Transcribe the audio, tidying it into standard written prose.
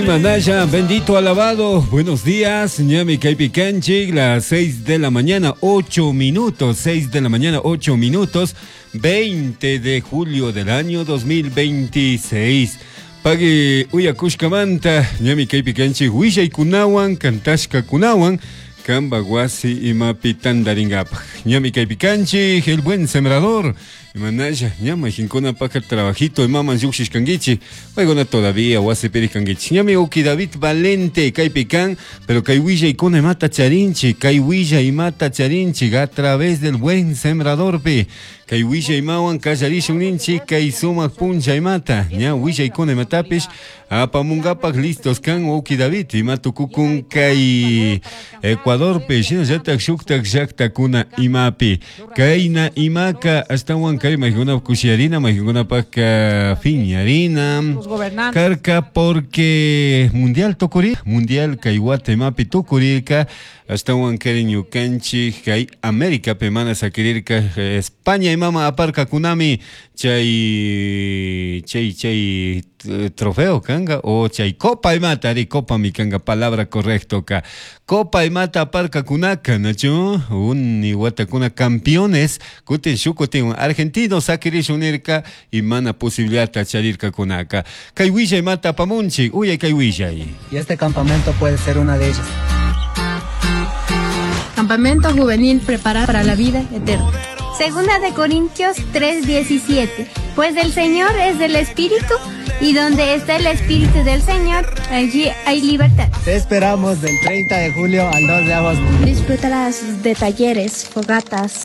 Imanaya, bendito alabado. Buenos días, ñami kaypi kanchik, las 6 de la mañana, 8 minutos, 6 de la mañana, 8 minutos, 20 de julio del año 2026. Pagui uyakushkamanta, ñami kaypi kanchik, willaykunawan, kantashkakunawan, kamba wasi imapi tandaringapaj. Ñami kaypi kanchik, el buen sembrador. Imanaya, ñama jinkunapaka trabajito imaman lluqshishkankichik, paykuna todavía wasipi kankichik. Ñami uki David Valente kaypi kan, pero kay willaykuna imata charinchik, kay willa imata charinchik a través del buen sembradorpi. Kay willa imawan kallarishun ninchik, kay sumaq puncha imata, ña willaykuna imatapish apamunkapak listos kan uki David, ima tukukun kay Ecuadorpi, shinallatak shuktak llaktakuna imapi. Kayna imaka ashtawan kay maykunap kushiyarina, maykunapak fiñarina. Karka porque mundial tukuri, mundial kay wata imapi tukurirka, ashtawan kay ñukanchik kay Américapi mana sakirirka España imama aparkakunami chay chay chay trofeo kanga o chay copa imata ari copa mi kanga palabra correcto ka copa imata aparkakunaka nachu uni watakuna campeones kutin shukutin argentino sakirishun nirka y mana posibilidad charirkakunaka kay willay imata apamunchik uyay kay willay. Y este campamento puede ser una de ellas. Campamento juvenil preparado para la vida eterna. Segunda de Corintios 3:17. Pues el Señor es del Espíritu, y donde está el Espíritu del Señor, allí hay libertad. Te esperamos del 30 de julio al 2 de agosto. Disfrutarás de talleres, fogatas,